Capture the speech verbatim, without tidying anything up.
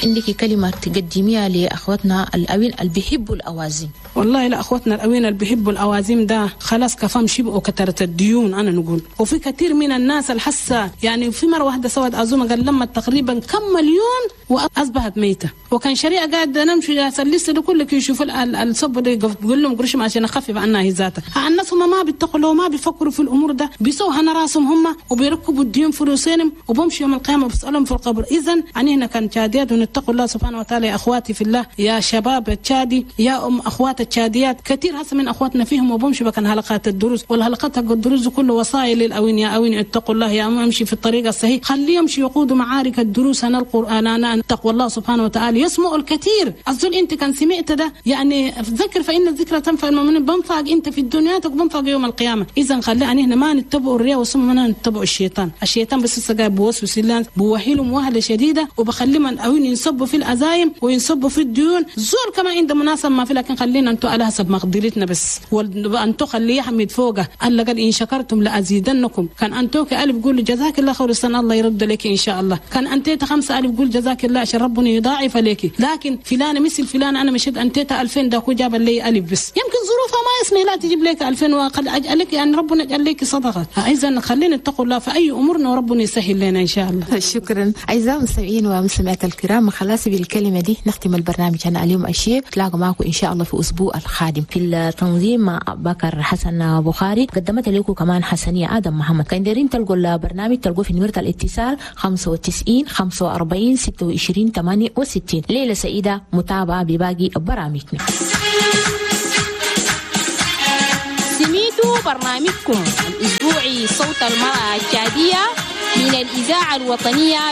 عندك كلمة تقدميها لاخواتنا الاوين اللي بيحبوا الاوازيم؟ والله لا، اخواتنا الاوين اللي بيحبوا الاوازيم ده خلاص كفام شبعوا كترة الديون. انا نقول وفي كثير من الناس الحسه، يعني في مرة واحدة سوت عزومة قال لما تقريبا كم مليون واصبحت ميته، وكان شريعة قاعد نمشي لسه ده كله يشوف الصب ده يقول لهم قرش عشان اخفف عنها هي ذاتها. الناس هم ما بيتقوا ما بيفكروا في الامور ده، بيسووا هنا راسهم هم وبيركبوا الديون في رؤوسهم وبمشي يوم القيامة بسالهم في القبر. اذا يعني هنا كان تشاديات ونتقوا الله سبحانه وتعالى يا اخواتي في الله، يا شباب التشادي، يا ام اخوات التشاديات، كثير هسه من اخواتنا فيهم وبمشي بكن حلقات الدروس والحلقات حق الدروس كله وصايا للاوين، يا اوين اتقوا الله، يا امشي في الطريق الصحيح، خليه يمشي يقودوا معارك الدروس انا القران انا اتقوا الله سبحانه وتعالى يسمع الكثير. الزول انت كان سمعت ده يعني ذكر فان الذكرى تنفع المؤمنين، بنفعك انت في الدنيا وبنفعك يوم القيامة. اذا خلينا هنا ما نتبعوا الرياء وثم ما نتبعوا الشيطان، الشيطان بس قاعد بوسوس لنا بوهيلهم وهله شديدة وبخليهم اوين ينصبوا في العزايم وينصبوا في الديون. زول كما عنده مناسبة ما في، لكن خلينا انتوا على حسب مقدرتنا بس، وانتوا خليه يحمد فوقه. الله قال ان شكرتم لازيدنكم. كان انتوك الف قول جزاك الله خير السنة الله يرد لك ان شاء الله، كان انتيت خمسة الف قول جزاك الله عشان ربنا يضاعف لك. لكن فلان مثل فلان انا مشيت انتيت ألفين ده جاب لي الف بس، يمكن ظروفها ما يسمح لا تجيب لك ألفين وقد اجعلك يعني ربنا يجعل لك صدقه. اذا خلينا نتقوا الله في اي امورنا وربنا يسهل لنا ان شاء الله. شكرا اعزائي المستمعين والمستمعات الكرام، خلاص بالكلمة دي نختم البرنامج انا اليوم اشياء، تلاقوا معكم ان شاء الله في اسبوع القادم. في التنظيم مع بكر حسن بخاري، قدمت لكم كمان حسنيه ادم محمد. كان دايرين تلقوا البرنامج تلقوه في نمره الاتصال خمسة وتسعين خمسة وأربعين ستة وعشرين ثمانية وستين. ليلة سعيدة، متابعه بباقي برامجنا. سميتوا برنامجكم الأسبوعي صوت المرأة التشادية من الإذاعة الوطنية.